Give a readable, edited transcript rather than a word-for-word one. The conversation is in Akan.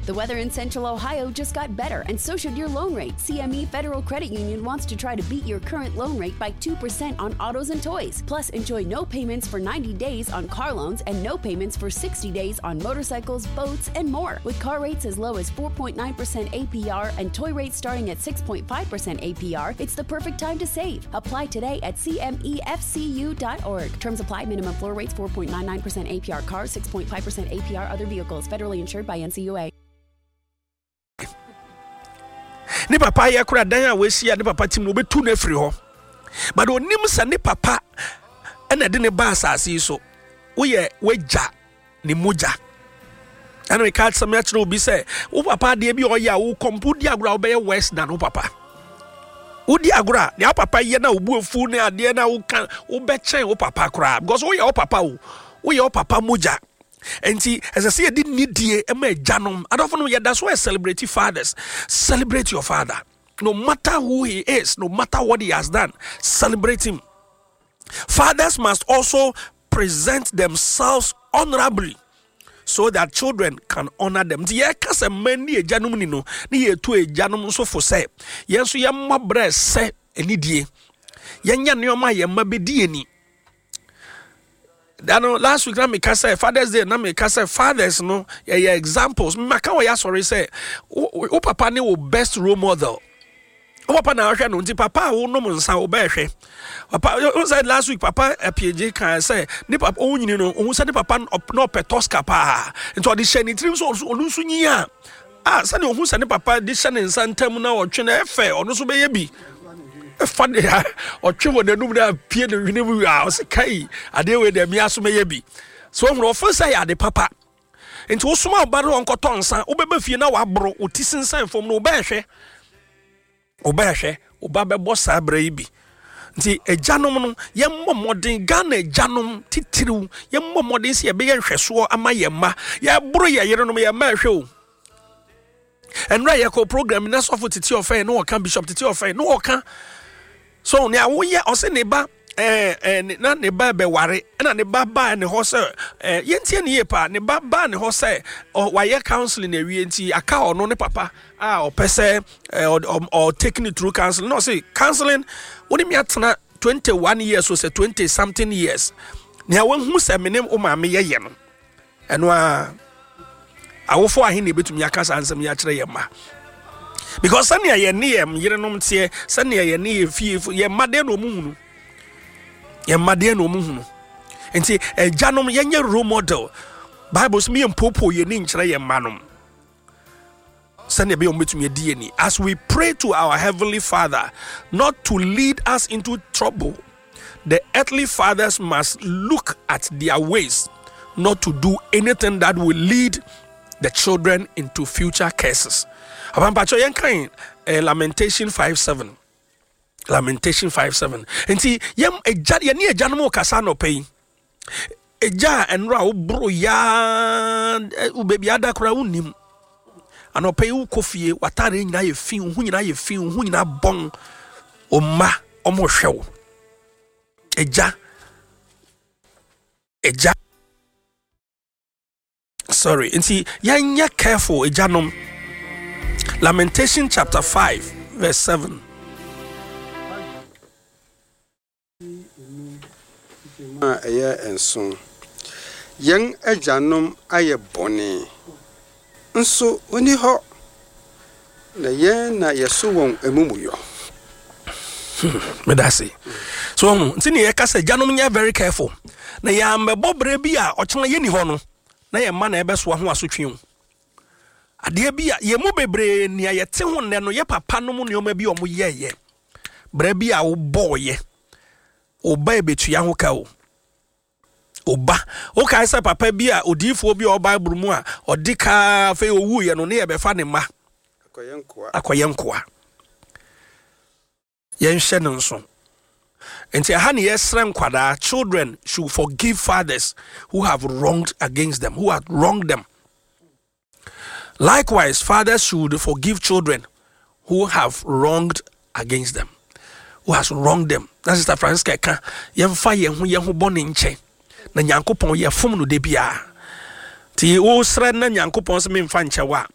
The weather in Central Ohio just got better, and so should your loan rate. CME Federal Credit Union wants to try to beat your current loan rate by 2% on autos and toys. Plus, enjoy no payments for 90 days on car loans and no payments for 60 days on motorcycles, boats, and more. With car rates as low as 4.9% APR and toy rates starting at 6.5% APR, it's the perfect time to save. Apply today at cmefcu.org. Terms apply. Minimum floor rates 4.99% APR cars, 6.5% APR other vehicles. Federally insured by NCUA. Ne papa ayɛ kora dan a wasi a ne papa tim no, wobɛtu no afiri hɔ, but onim sɛ ne papa ɛna ɛde ne ba asase yi so. Woyɛ wagya ne mogya. Ɛna meka asɛm akyerɛ obi sɛ wo papa adeɛ bi a ɔyɛ a wokɔmpo wodi agorɔ a, wobɛyɛ worse than wo papa. Wodi agorɔ a, deɛ wo papa yɛ na wobu afu ne adeɛ na woka, wobɛkyɛn wo papa koraa, because woyɛ wo papa o, woyɛ wo papa mogya. Nti ɛsɛ sɛ yɛde nidie ma agyanom. Adɔfo no, yɛda so ɛ celebrate fathers. Celebrate your father, no matter who he is, no matter what he has done, celebrate him. Fathers must also present themselves honorably so that children can honor them. Nti yɛka sɛ mma ni agyanom ni no, ne yɛtu agyanom nso fo sɛ yɛn nso yɛmmɔ brɛ sɛ anidie, yɛnyɛ nneɛma a yɛn mma bɛdi ani dano. Last week na meka sɛ Fathers Day, na meka sɛ fathers no yɛyɛ examples. Maka wɔ yɛ asɔre sɛ wo papa ne wo best role model. Wo papa na ahwɛ no. Nti papa a wonom nsa, wobɛɛhwɛ papa wo sɛ last week Papa Apiegye kan sɛ ne papa ɔnyini no, ɔhu sɛ ne papa na ɔpɛ Tosca paa, nti ɔde hyɛ ne tirim sɛ ɔno nso nyi a sɛdeɛ ɔhu sɛ ne papa de hyɛ ne nsa ntam na ɔtwe no ɛfɛ, ɔno nso bɛyɛ bi. Ɛfa de a ɔtwe wɔ n'anum na apue ne hwene mu a, ɔsɛ kai, adeɛ wei deɛ mmea so mɛyɛ bi. So ɔhunu ɔfo sɛ yɛ ade papa. Nti wosoma ɔba no ɔnkɔtɔ nsa, wobɛba fie na waboro wo ti sensan fam no, wobɛɛhwɛ woba bɛbɔ saa berɛ yi bi. Nti agyanom no, yɛmmɔ mmɔden, Ghana agyanom titiriw, yɛmmɔ mmɔden sɛ yɛbɛyɛ nhwɛsoɔ ama yɛn mma. Yɛboro yɛ yerenom, yɛn mma ɛhwɛ o. Ɛnura yɛkɔ program na sɔfo Tete Ɔfɛn na ɔka, Bishop Tete Ɔfɛn na ɔka so nea woyɛ, ɔsɛ ne ba ɛɛ ɛɛ na ne ba bɛware, ɛna ne ba baa ne hɔ sɛ yɛntie ne yie paa. Ne ba baa ne hɔ sɛ wayɛ counseling awie, nti aka ɔno ne papa a ɔpɛ sɛ ɛɛ ɔ ɔ take ne through counseling. Na ɔsɛ counseling wɔne mi atena 21 years o, sɛ 20 something years, nea wahu sɛ me ne wo maame yɛyɛ no. Ɛno a awofo ahe na ebetumi aka saa nsɛm yi akyerɛ yɛn mma? Because sɛnea yɛn ne yɛn yerenom teɛ, sɛnea yɛn ne yɛn fie, yɛn mma deɛ na ɔmo hunu, yɛn mma deɛ na ɔmo hunu. Nti agyanom, yɛnyɛ role model. Bible sɛ yɛn mpopo yɛn ni nkyerɛ yɛn mma nom sɛnea ɛbɛyɛ wɔn bɛtumi adi yɛn ni. As we pray to our heavenly Father not to lead us into trouble, the earthly fathers must look at their ways not to do anything that will lead the children into future curses. Apampakyɛ, yɛn kan Lamentation 5:7, Lamentation 5:7. Nti yɛn agya, yɛn ne agyanom kasa anɔpɛ yi. Agya a ɛnora a woboro yaa, baabi ada koraa wonnim, anɔpɛ yi wokɔ fie, w'atadeɛ nyinaa yɛ fi, wo ho nyinaa yɛ fi, wo ho nyinaa bɔn, wo mma ɔmo hwɛ wo. Agya, agya, sorry, nti yɛnyɛ careful, agyanom. Lamentation chapter 5 verse 7. A ɛyɛ 7. Yɛn agyanom ayɛ bɔne, nso onni hɔ, na yɛn na yɛso wɔn amumuyɔ. Meda ase. So ɔhu nti ne yɛka sɛ agyanom nyɛ very careful na yɛambɛbɔ berɛ bi a ɔkyena yɛni hɔ no na yɛn mma na ɛbɛsoa ho asotwe o. Adeɛ bi a yɛn mu bebree nea yɛte ho nnɛ no, yɛ papa nom nneɛma bi a ɔmo yɛɛyɛ berɛ bi a wobɔɔyɛ, ɔba ebetua ho ka o. Ɔba wokae sɛ papa bi a odiifoɔ bi a ɔwɔ Bible mu a ɔde kaa, afei owuiɛ no ne yɛbɛfa ne mma akɔyɛ nkoa. Akɔyɛ nkoa. Yɛnhyɛ no nso. Nti ɛha ne yɛsrɛ nkwadaa, children should forgive fathers who have wronged against them, who have wronged them. Likewise, fathers should forgive children who have wronged against them, who has wronged them. Na Sister Francisca ka yɛmfa yɛn ho bɔ ne nkyɛn na Nyankopɔn yɛfom no de biara. Nti wosrɛ na Nyankopɔn sɛ memfa nkyɛ wo a.